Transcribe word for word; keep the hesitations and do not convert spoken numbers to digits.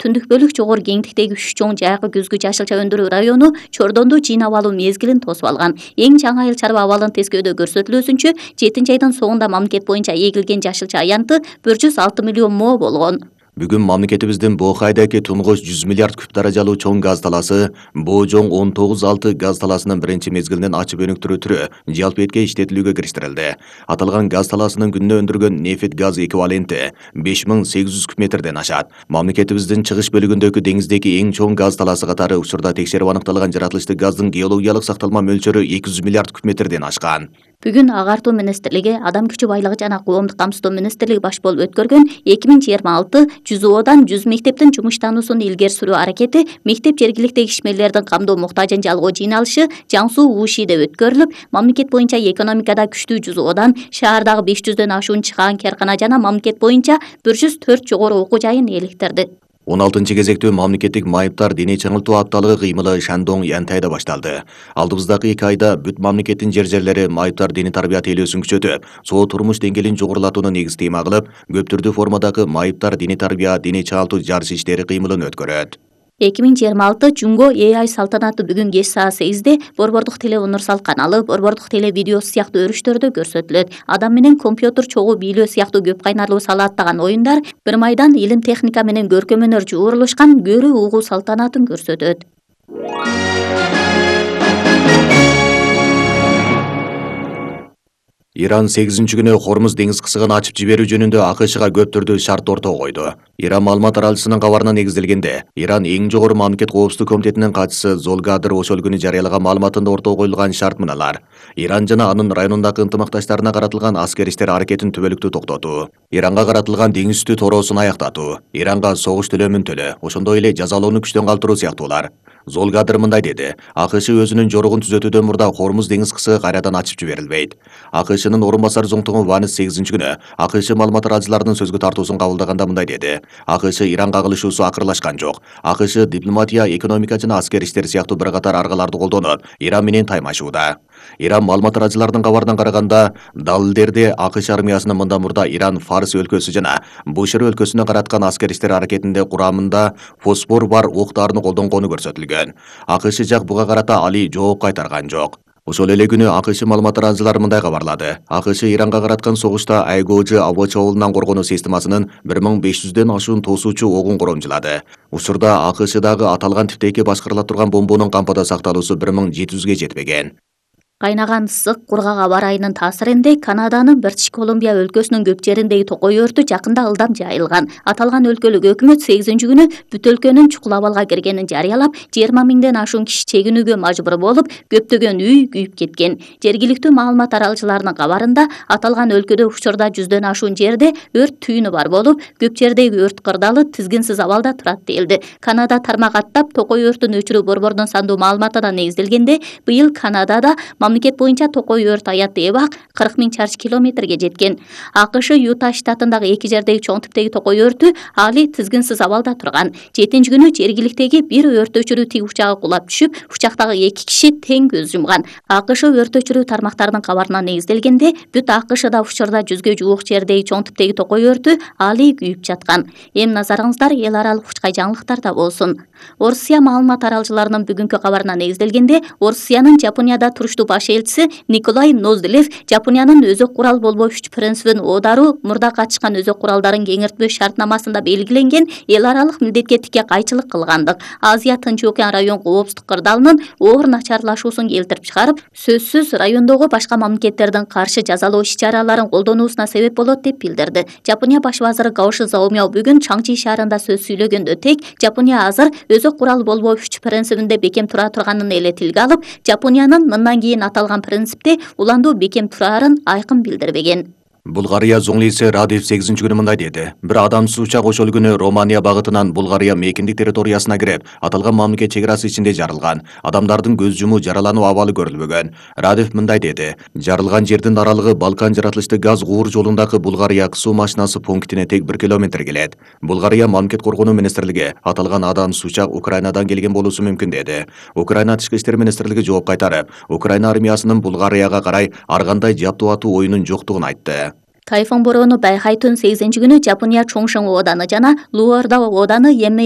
түндүк бөлүк жогору кеңдиктеги үч чоң жайкы күзгү жашылча өндүрүү району Чордонду жыйнап алуу мезгилин тосуп алган. Эң жаңы айыл чарба абалын тескөөдө көрсөтүлүүсүнчө жетинчи айдын соңунда мамлекет боюнча эгилген жашылча аянты бир жүз алты миллион мо болгон. Бүгүн мамлекетибиздин Боокайдагы тунгуч жүз миллиард куб даражалуу чоң газ талаасы Боожоң он тогуз алты газ талаасынын биринчи мезгилинен ачып өнүктүрүү түрү жалпы этке иштетилүүгө кириштирилди. Аталган газ талаасынын күнүнө өндүргөн нефть газ эквиваленти беш миң сегиз жүз куб метрден ашат. Мамлекетибиздин чыгыш бөлүгүндөгү деңиздеги эң чоң газ талаасы катары учурда текшерип аныкталган жаратылыштык газдын геологиялык сакталма мөлчөрү эки жүз миллиард куб метрден ашкан. Бүгүн Агартуу министрлиги, Адам күчү байлыгы жана коомдук камсыздоо министрлиги баш болуп өткөргөн эки миң жыйырма алты жүз оодан жүз мектептин жумуштануусун илгери сүрүү аракети мектеп жергиликтеги ишмерлердин камдоо муктажын жалгоо жыйналышы Жан Суу Ушиде өткөрүлүп, мамлекет боюнча экономикада күчтүү жүз оодан, шаардагы беш жүздөн ашуун чыгаан каркана жана мамлекет боюнча бир жүз төрт жогору окуу жайын электирди. он алтынчы кезектүү мамлекеттик майыптар дене чаңылтуу апталыгы кыймылы Шандоң Янтайда башталды. Алдыбыздагы эки айда бүт мамлекеттин жер жерлери майыптар дене тарбия тейлөөсүн күчөтүп, соо турмуш деңгээлин жогорулатууну негиз тема кылып, көп түрдүү формадагы майыптар дене тарбия дене чаңылтуу жарыш иштери кыймылын өткөрөт. эки миң жыйырма алты Жунго Э Ай салтанаты бүгүн кеч саат сегизде Борбордук теле универсал каналы, Борбордук теле видеосу сыяктуу өрүштөрдө көрсөтүлөт. Адам менен компьютер чогуу бийлөө сыяктуу көп кайнарлуу салааттаган оюндар бир майдан илим техника менен көркөм өнөр жуурулушкан көрүү угуу салтанатын көрсөтөт. Иран сегизинчи күнү Хормуз деңиз кысыгын ачып жиберүү жөнүндө АКШга көп түрдүү шарт ортого койду. Иран маалымат аралышынын кабарына негизделгенде, Иран эң жогору мамлекет коопсуздук комитетинин катчысы Золгадыр ошол күнү жарыялаган маалыматында ортого коюлган шарт мыналар: Иран жана анын районундагы ынтымакташтарына каратылган аскер иштер аракетин түбөлүктүү токтотуу, Иранга каратылган деңиз үстү тороосун аяктатуу, Иранга согуш төлөмүн төлөө, ошондой эле жазалоону күчтөн калтыруу сыяктуулар. Золгадыр мындай деди: АКШ өзүнүн жоругун түзөтүүдөн мурда Хормуз деңиз кысыгы кайрадан ачып жиберилбейт. АКШнын орун басары зоңтугу Ванес сегизинчи күнү АКШ маалымат аралчыларынын сөзгө тартуусун кабылдаганда мындай деди: АКШ Иранга кылышуусу акырлашкан жок. АКШ дипломатия, экономика жана аскер иштер сыяктуу бир катар аргаларды колдонуп, Иран менен таймашууда. Иран маалымат аралчыларынын кабарынан караганда, далилдерде АКШ армиясынын мындан мурда Иран Фарс өлкөсү жана Бушер өлкөсүнө караткан аскер иштер аракетинде курамында фосфор бар октарны колдонгону көрсөтүлгөн. АКШ жак буга карата али жооп кайтарган жок. Ошол эле күнү АКШ маалымат аралчылары мындай кабарлады: АКШ Иранга караткан согушта Айгоожу аба чабуулунан коргонуу системасынын бир миң беш жүздөн ашуун тосуучу огун коромжулады. Учурда АКШдагы аталган типтеги башкарыла турган бомбонун кампада сакталуусу бир миң жети жүзгө жетпеген. Кайнаган ысык кургак аба ырайынын таасиринде Канаданын Бритиш Колумбия өлкөсүнүн көп жериндеги токой өртү жакында ылдам жайылган. Аталган өлкөлүк өкмөт сегизинчи күнү бүт өлкөнүн чукул абалга киргенин жарыялап, жыйырма миңден ашуун киши чегинүүгө мажбур болуп, көптөгөн үй күйүп кеткен. Жергиликтүү маалымат аралчыларынын кабарында, аталган өлкөдө учурда жүздөн ашуун жерде өрт түйүнү бар болуп, көп жердеги өрт кырдалы тизгинсиз абалда турат делди. Канада тармак аттап токой өртүн өчүрүү борборунун сандуу маалыматына негизделгенде, быйыл Канадада мамлекет боюнча токой өрт аятты эбак кырк миң чарчы километрге жеткен. АКШ Юта штатындагы эки жердеги чоң типтеги токой өртү али тизгинсиз абалда турган. жетинчи күнү жергиликтеги бир өрт өчүрүү тиг учагы кулап түшүп, учактагы эки киши тең көз жумган. АКШ өрт өчүрүү тармактарынын кабарына негизделгенде, бүт АКШда учурда жүзгө жуук жердеги чоң типтеги токой өртү али күйүп жаткан. Эми назарыңыздар эл аралык учкай жаңылыктарда болсун. Орусия маалымат аралчыларынын бүгүнкү кабарына негизделгенде, Орусиянын Жапонияда туруштуу баш элчиси Николай Ноздилев Жапониянын өзөк курал болбоо үч принцибин оодаруу мурда катышкан өзөк куралдарын кеңиртпөө шартнамасында белгиленген эл аралык милдетке тике кайчылык кылгандык, Азия Тынч океан район коопсуздук кырдаалынын оор начарлашуусун келтирип чыгарып, сөзсүз райондогу башка мамлекеттердин каршы жазалоо иш-чараларын колдонуусуна себеп болот деп билдирди. Жапония баш вазыры Гаоши Заомяо бүгүн Чаңчи шаарында сөз сүйлөгөндө тең Жапония азыр өзөк курал болбоо үч принцибинде бекем тура турганын эле тилге алып, Жапониянын мындан кийин аталган принципте уландуу бекем турарын айкын билдирбеген. Булгария зоңлиси Радев сегизинчи күнү мындай деди: бир адамсыз учак ошол күнү Романия багытынан Булгария мейкиндик территориясына кирип, аталган мамлекет чек арасы ичинде жарылган. Адамдардын көз жумуу, жаралануу абалы көрүлбөгөн. Радев мындай деди: жарылган жердин аралыгы Балкан жаратылыштык газ куур жолундагы Булгария суу машинасы пунктине тек бир километр келет. Булгария мамлекет коргонуу министрлиги аталган адамсыз учак Украинадан келген болуусу мүмкүн деди. Украина тышкы иштер министрлиги жооп кайтарып, Украина армиясынын Булгарияга карай ар кандай жаптуу атуу оюнун жоктугун айтты. Тайфун бороону байкайтын сегизинчи күнү Жапония Чоңшың ооданы жана Луорда ооданы Емей